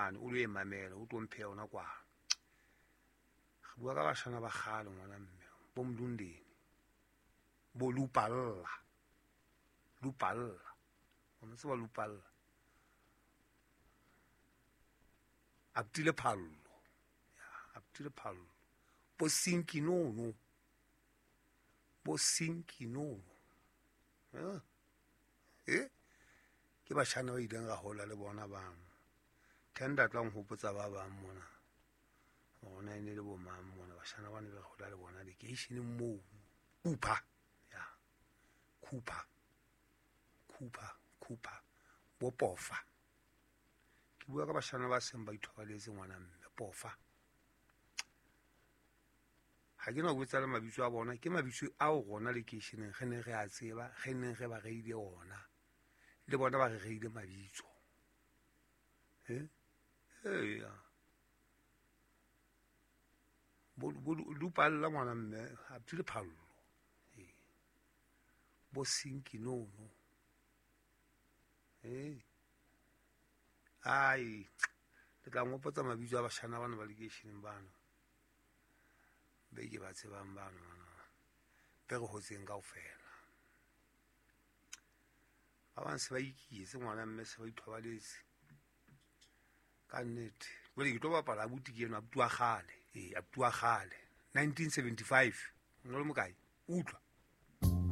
mane o lo e mamela o tlo mphe yona kwano. Re bua ka bashana ba kgale ngwana mme, bo Mlundeni, bo Lupalla, Lupalla, o mo tseba Lupalla, Aptile Phallo, ya Aptile Phallo, bo Sinkinono, bo Sinkinono, eh ke bashana ba ileng ra hola le bona bano. Tender tla nhopotsa ba bang mona, rona e ne le bo mang mona, bashana ba ne be re hola le bona lekeisheneng moo. Cooper, ya Cooper, Cooper, Cooper, bo Pofa. Ke bua ka bashana ba seng ba ithobaletse ngwana mme, Pofa. Ha ke na ho botsa le mabitso a bona, ke mabitso ao rona lekeisheneng re neng re a tseba, re neng re ba reile ona, le bona ba re reile mabitso. Eya. Bo Lupalla ngwana mme, a tsile Phallo. Bo Sinkinono. Ai, le tla ngopotsa mabitso a bashana bana ba lekeisheneng bano, be ke ba tsebang bano, be re hotseng kaofela. Ba bang se ba iketse ngwana mme, se ba ithobaletse ka nnete. Jwale ke tlo bapala abuti ke enwa, abuti wa kgale. Ee, abuti wa kgale, 1975. O no le mokae? Utlwa.